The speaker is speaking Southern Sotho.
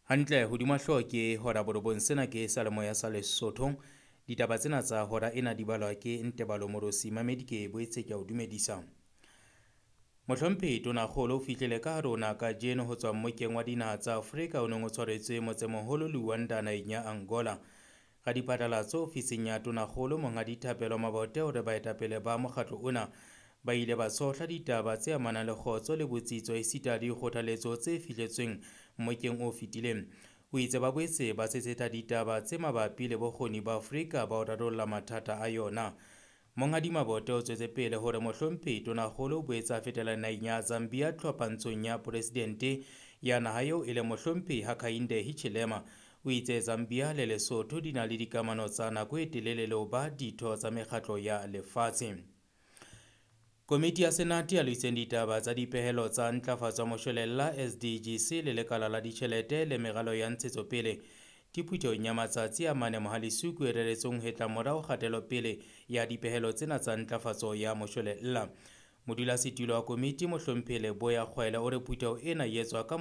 Hantle hodima hlooho ke hora borobong. Sena ke seyalemoya sa Lesotho. Ditaba tsena tsa hora ena di balwa ke Ntebalo Morosi. Mamedi ke boetse ke a o dumedisa. Mohlomphehi Tonakgolo o fihlile ka hare ho naha kajeno ho tswa mmokeng wa dinaha tsa Afrika o neng o tshwaretswe motsemoholo Luanda naheng ya Angola. Radiphatlalatso ofising ya Tonakgolo Monghadi Thapelo Mabote o re baetapele ba mokgatlo ona ba ile ba tshohla ditaba tse amanang le kgotso le botsitso esita le dikgothaletso tse fihletsweng mmokeng o fetileng. O itse ba boetse ba tshetsetsa ditaba tse mabapi le bokgoni ba Afrika ba ho rarolla mathata a yona. Monghadi Mabote o tswetse pele hore mohlomphehi Tonakgolo o boetse a fetela naheng ya Zambia tlhophantshong ya poresidente ya naha eo e leng mohlomphehi Hakainde Hichilema. O itse Zambia le Lesotho di na le dikamano tsa nako e telele le ho ba ditho tsa mekgatlo ya lefatshe. Komiti ya Senate ya loiseng ditaba tsa dipehelo tsa ntlafatso ya moshwelella SDGC le lekala la ditjhelete le meralo ya ntshetsopele ke phuthehong ya matsatsi a mane Mohalesuku e reretsweng ho hetla morao kgatelopele ya dipehelo tsena tsa ntlafatso ya moshwelella. Modulasetulo wa komiti mohlomphehi Leboya Kgwele o re phutheho ena e etswa ka